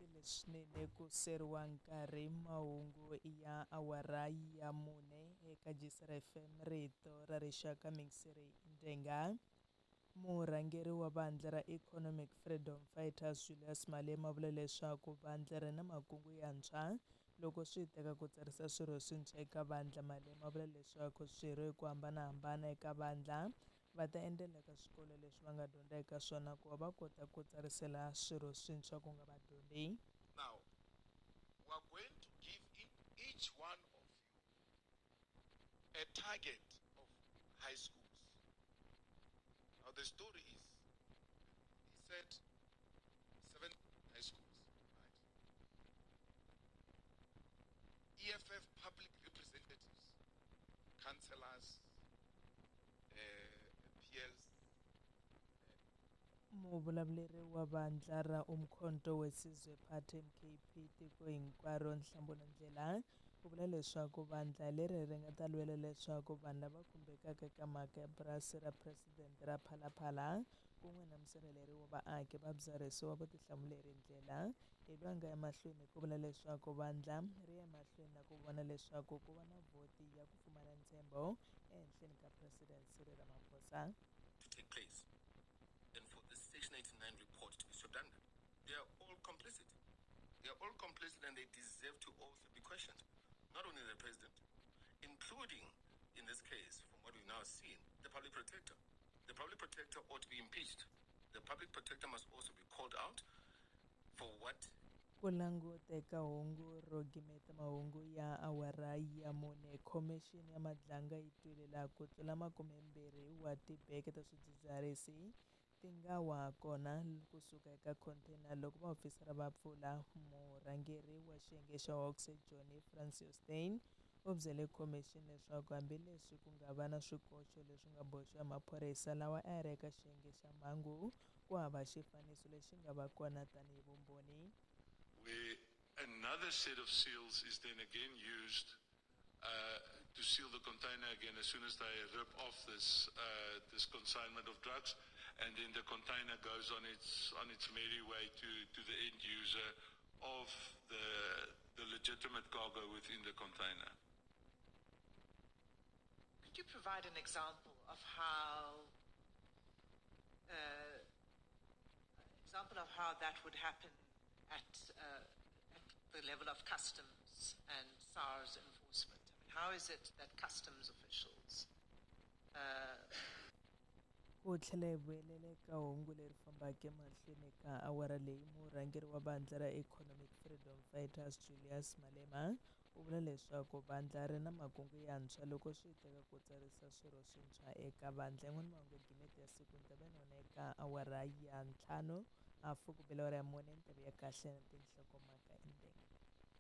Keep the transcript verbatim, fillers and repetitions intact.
Khensile swinene ku seriwa nkarhi mahungu ya awara ya mune eka J C R F M, rito ra rixaka. Mixiri Ndenga. Murhangeri wa vandla ra Economic Freedom Fighters, Julius Malema, vula leswaku vandla ri na makungu yantshwa loko swi teka ku tsarisa swirho swintshwa eka vandla. Malema vula leswaku swirho hi ku hambanahambana eka vandla va ta endzela eka swikolo leswi va nga dyondza eka swona ku va va kota ku tsarisela swirho swintshwa ku nga vadyondzi. Now, we are going to give each one of you a target of high schools. Now, the story is, he said seven high schools, right? E F F public representatives, councillors, uh, P Ls, Muvulavuleri wa vandla ra Umkhonto weSizwe Party, M K P, tiko hinkwaro, Nhlamulo Ndhlela, u vula leswaku vandla leri ri nga ta lwela leswaku vanhu lava khumbekaka eka mhaka ya purasi ra phuresidente ra Phala Phala kun'we na musirheleri wa vaaki va byarhisiwa vutihlamuleri. Ndlela hi loyi a nga emahlweni ku vula leswaku vandla ri ya emahlweni na ku vona leswaku ku va na vhoti ya ku pfumala ntshembo ehenhleni ka President Cyril Ramaphosa. To take place and for this Section eighty-nine report to be swept under. They are all complicit. They are all complicit and they deserve to also be questioned. Not only the president, including, in this case, from what we've now seen, the public protector. The public protector ought to be impeached. The public protector must also be called out for what Ku languta eka hungu ro gimeta mahungu ya awara ya mune, Khomixini ya Madlanga yi twile laha ku tlula makumembirhi wa tibeke ta swidzidziharisi ti nga wa kona kusuka eka khonteyina loko vaofisara va pfula. Murhangeri wa xiyenge xa Hawks, Johnny Francois Steyn, u byele khomixini leswaku hambileswi ku nga va na swikoxo leswi nga boxiwa hi maphorisa lawa a ya ri eka xiyenge xa mhangu, ku hava xifaniso lexi nga va kona tanihi vumbhoni. Where another set of seals is then again used uh, to seal the container again as soon as they rip off this uh, this consignment of drugs, and then the container goes on its on its merry way to, to the end user of the the legitimate cargo within the container. Could you provide an example of how uh, example of how that would happen at, uh, at the level of customs and SARS enforcement? I mean, how is it that customs officials uh, Ku tlhela hi vuyelela eka hungu leri fambaka emahlweni ka awara leyi, murhangeri wa vandla ra Economic Freedom Fighters, Julius Malema, u vula leswaku vandla ri na makungu yantshwa loko swi teka ku tsarisa swirho swintshwa eka vandla. Yin'wana mahungu ya gimete ya siku ni ta va na wona eka awara ya ntlhanu hafu ku bela awara ya mune. Ni ya kahle na tinhlokomhaka endzeni.